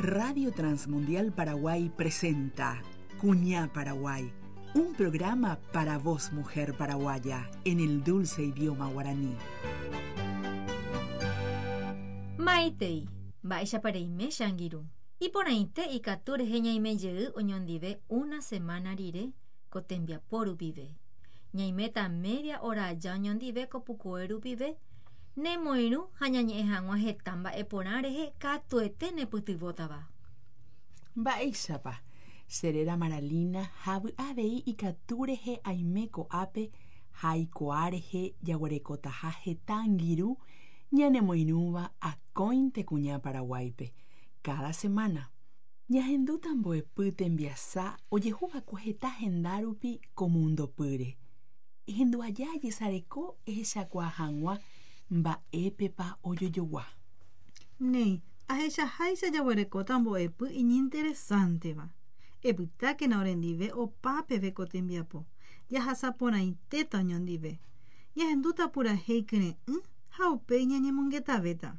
Radio Transmundial Paraguay presenta Cuñá Paraguay, un programa para vos, mujer paraguaya, en el dulce idioma guaraní. Maitei, mba'éichapa reime che angirũ. Iporãite ikatu rehe ñaime jey oñondive una semana rire ko tembiapo rupive. Ñaiméta media hora aja oñondive ko pukoe rupive, nemoirũ ha ñañe'ẽ hag̃ua heta mba'e porã rehe katuete nepytyvõtava. Mba'éichapa, che réra Maralina ha avy'a avei ikatu rehe aime ko'ápe ha aikuaa rehe jaguerekotaha heta angirũ ñanemoirũva akóinte Kuña Paraguáipe, káda semana. Ñahendúta mbo'epy tembiasa ojehuva'ekue heta henda rupi ko mundopýre. Ehendu aja ajesareko ehechakuaa hag̃ua mba'épepa ojojogua. Néi, ahechaháicha jaguerekóta mbo'epy iñinteresánteva. Epytákena orendive opa peve ko tembiapo, jahasa porãitéta oñondive. Ñahendúta purahéi kyre'ỹ ha upéi ñañemongetavéta.